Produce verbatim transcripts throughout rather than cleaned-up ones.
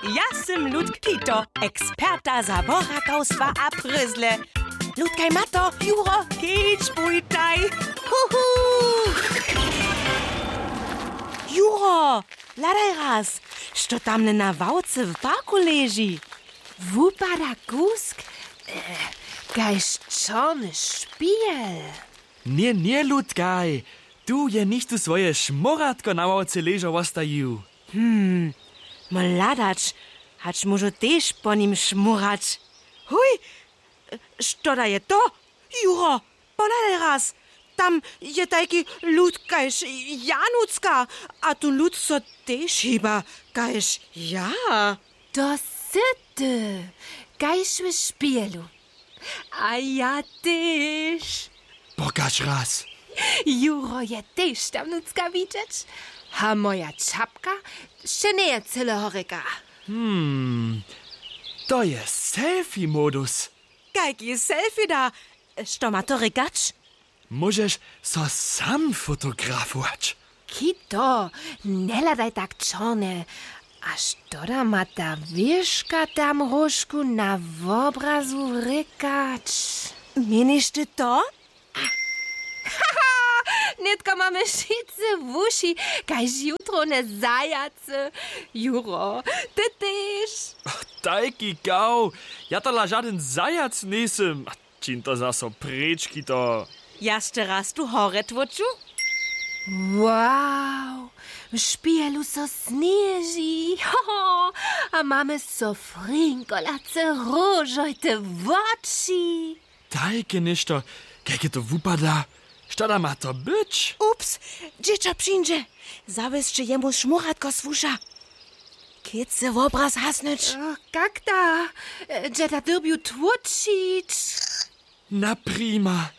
Ja sym Ludk Tito, eksperta za borakawstwa a prězle. Ludkaj, Mato, Juro, kedź bójtaj. Huhu! Juro, hladaj raz, što tamle na ławce w parku leži. Wupada kusk, eh, kaž čorny špihel. Ně, ně, Ludkaj, tu je něchtó swoje šmóratko na ławce ležo wostajił. Hmm, mol hladać, hač móžu tež po nim šmórać. Huj, što da je to? Juro, pohladaj raz, tam je tajki lud kaž Janucka, a tu lud so tež hiba kaž ja. To sy ty, kaž w špihelu. A ja tež. Pokaž raz. Juro je tež tam nutřka widźeć. A moja čapka še njeje cyle horjeka. Hmm, to je selfie-modus. Kajki selfie da? Što ma to rěkać? Móžeš so sam fotografować. Kito, njehladaj tak čornje. A što da ma ta wěška tam róžku na wobrazu rěkać? Měniš ty to? Nětko mamy wšitcy wuši, kaž jutrowne zajacy. Juro, ty tež. Tajki kaw, ja tola žadyn zajac njejsym. Čiń to zaso preč, Kito. Jaž teraz tu horje tłóču. Wow, w špihelu so sněži. Ho, ho, a mamy so frinkolace róžojte woči. Tajke něšto, kajke to wupada. Što da ma to być? Ups, dźěćo přińdźe. Zawěsće jemu šmóratko słuša. Chce wobraz hasnyć. Ach, kak da? Dźe da dyrbju tłóčić? Na prima.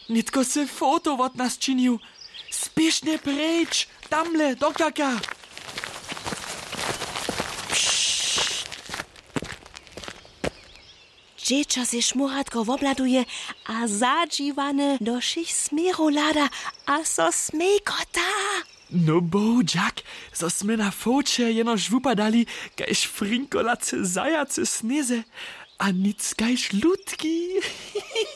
Nětko sy foto wot nas činił. Spěšnje preč, tamle, do kaka. Dźěćo sej šmóratko wobhladuje a zadźiwane do wšěch směrow hlada a so smejkota. No bohudźak, zo smy na foće jenož wupadali kaž frinkolace zajacy w sněze a nic kaž lutki.